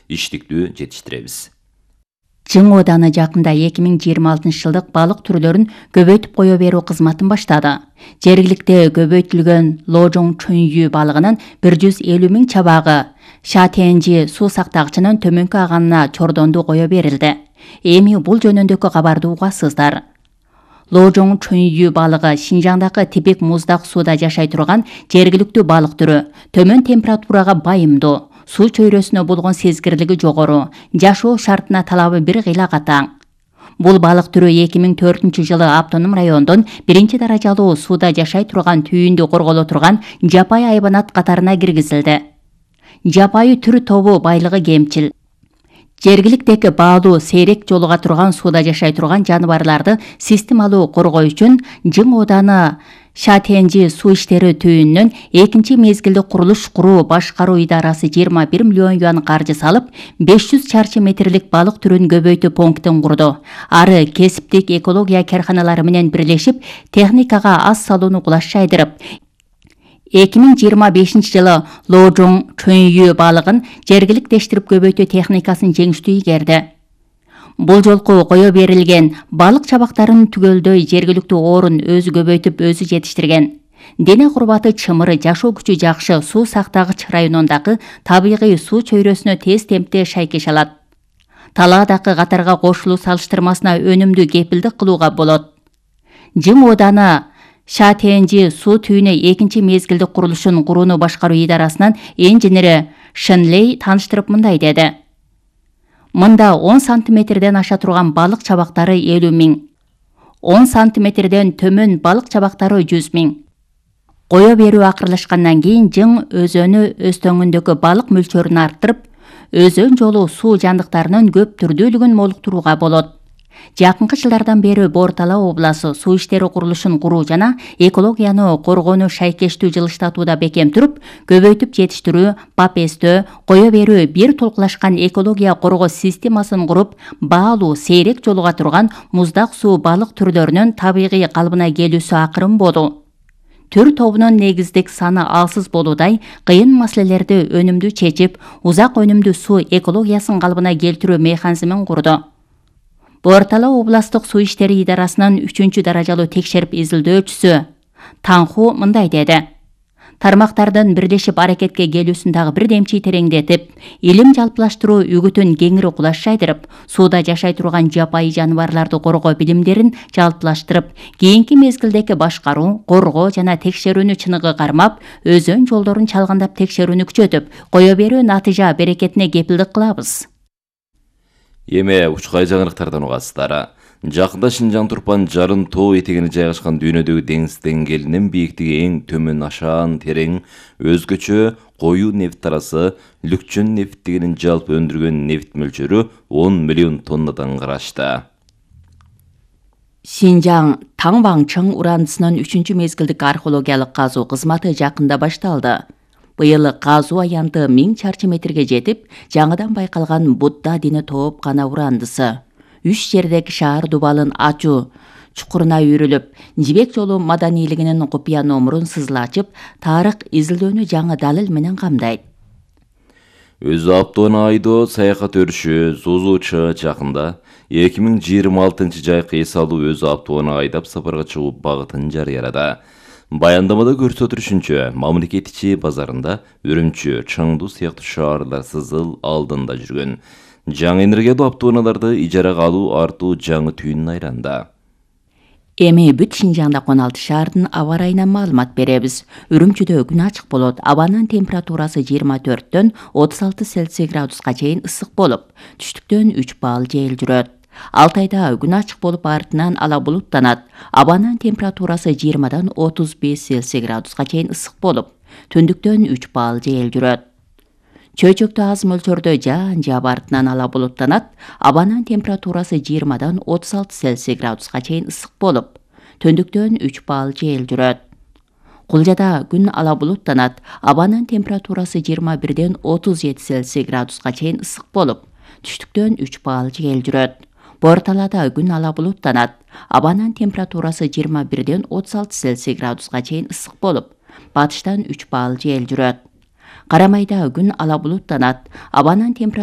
иштиктүү жетиштиребиз. Жың Ооданы жакында 2026-жылдык балык түрлөрүн көбөйтүп кое берүү кызматын баштады. Жергиликте көбөйтүлгөн Ложоң чөйүү балыгынын 150 000 чабагы Шатенжи суу сактагычынын төмөнкү аганына чордонду кое берилди. Эми бул жөнүндөгү кабарды угасыздар. Ложоң чөйүү балыгы Шинжаңдагы типик муздак сууда жашай турган жергиликтүү балык түрү. Төмөн температурага байымдуу, суу чөйрөсүнө болгон сезгирлиги жогору, жашоо шартына талабы бир кыйла катаң. Бул балык түрү 2004-жылы автоном райондон 1-даражалуу сууда жашай турган түйүндү корголо турган жапайы айбанат катарына киргизилди. Жапайы түр тобу байлыгы кемчил. Жергиликтеги баалуу сейрек жолуга турган сууда жашай турган жаныбарларды системалуу коргоо үчүн Жың Ооданы Шатенжи суу иштери түйүнүнөн экинчи мезгилдик курулуш куруу башкаруу идарасы 21 миллион юан каржы салып, 500 чарчы метрлик балык түрүн көбөйтүү пунктин курду. Ары кесиптик экология карханалары менен бирлешип, техникага аз салууну кулаш жайдырып, 2025-жылы Ложоң чөйүү балыгын жергиликтештирип көбөйтүү техникасын жеңиштүү ийгерди. Бул жолку кое берилген балык чабактарынын түгөлдөй жергиликтүү орун өзү көбөйтүп өзү жетиштирген. Дене курбаты чымыры, жашоо күчү жакшы, суу сактагыч районундагы табигый суу чөйрөсүнө тез темпте шайкеш алат. Талаадагы катарга кошулуу салыштырмасына өнүмдүү кепилдик кылууга болот. Жың Ооданы Шатенжи суу түйүнү экинчи мезгилдик курулушун курууну башкаруу идарасынын инженери Шенлей тааныштырып мындай деди. Мында 10 сантиметрден аша турган балык чабактары 50 000, 10 сантиметрден төмөн балык чабактары 100 000. Кое берүү акырлашкандан кийин Жың өзөнү өстөңүндөгү балык мөлчөрүн арттырып, өзөн жолу суу жандыктарынын көп түрдүүлүгүн молуктурууга болот. Жакынкы жылдардан бери Бор-Тала областы суу иштери курулушун куруу жана экологияны коргоону шайкештүү жылыштатууда бекем туруп, көбөйтүп жетиштирүү, папестөө, кое берүү бир толкулашкан экология коргоо системасын куруп, баалуу сейрек жолуга турган муздак суу балык түрлөрүнүн табигый калыбына келүүсү акырын болду. Түр тобунун негиздик саны алсыз болуудай кыйын маселелерди өнүмдүү чечип, узак өнүмдүү суу экологиясын калыбына келтирүү механизмин курду. Бор-Тала областык суу иштери идарасынын 3-даражалуу текшерип изилдөөчүсү Танху мындай деди. Тармактардын бирлешип аракетке келүүсүн дагы бирдемчи тереңдетип, илим жалпылаштыруу үгүтүн кеңири кулаш жайдырып, сууда жашай турган жапайы жаныбарларды коргоо билимдерин жалпылаштырып, кийинки мезгилдеги башкаруу, коргоо жана текшерүүнү чыныгы кармап, өзөн жолдорун чалгандап текшерүүнү күчөтүп, кое берүү натыйжа берекетине кепилдик кылабыз. Эме учкай жаңырыктардан угасыздар. Жакында Шинжаң Турпан Жарын тоо этегине жайгашкан дүйнөдөгү деңиз деңгээлинин бийиктиги эң төмөн ашаан терең өзгөчө коюу нефт тарасы Лүкчөн нефттигинин жалпы өндүргөн нефт мөлчөрү 10 миллион тоннадан карашты. Шинжаң Таңбаңчың урандысынын 3-мезгилдик археологиялык казуу кызматы жакында башталды. Быйыл казуу аянты 1000 чарчы метрге жетип, жаңыдан байкалган Будда дини тоопкана урандысы 3 жердеги шаар дубалын ачуу чукуруна үйрүлүп, жибек жолу маданийлигинин купуя номурун сызылачып, тарых изилдөөнү жаңы далил менен камдайт. Өзү Аптоона айдоо саякат өрүшү Зузучу жакында 2026 жайкы эс алуу өзү Аптоона айдап сапарга чыгуу багытын жарыялады. Баяндамада көрсөтүлүшүнчө, мамлекет ичи базарында Үрүмчү, Чаңду сыяктуу шаарлар сызыл алдында жүргөн. Жаңы энергиялуу Аптооналарды ижарага алуу артуу жаңы түйүн айланда. Эми бүт Шинжаңда 16 шаардын аба ырайынан маалымат беребиз. Үрүмчүдө күн ачык болот. Абанын температурасы 24-төн 36 Цельсий градуска чейин ысык болуп, түштүктөн 3 балл жел жүрөт. Алтайда күн ачык болуп, артынан ала булуттанат. Абанын температурасы 20-дан 35 Цельсий градуска чейин ысык болуп, түндүктөн 3 балл жел жүрөт. Чөйчөктө аз мөлчөрдө жаан жаап, артынан ала булуттанат. Абанын температурасы 20-дан 36 Цельсий градуска чейин ысык болуп, түндүктөн 3 балл жел жүрөт. Кулжада күн ала булуттанат. Абанын температурасы 21-ден 37 Цельсий градуска чейин ысык болуп, түштүктөн 3 балл жел жүрөт. Бор-Талаада күн ала булуттанат. Абанын температурасы 21-ден 36 Цельсий градуска чейин ысык болуп, батыштан 3 балл жел жүрөт. Карамайда күн ала булуттанат. Абанын температурасы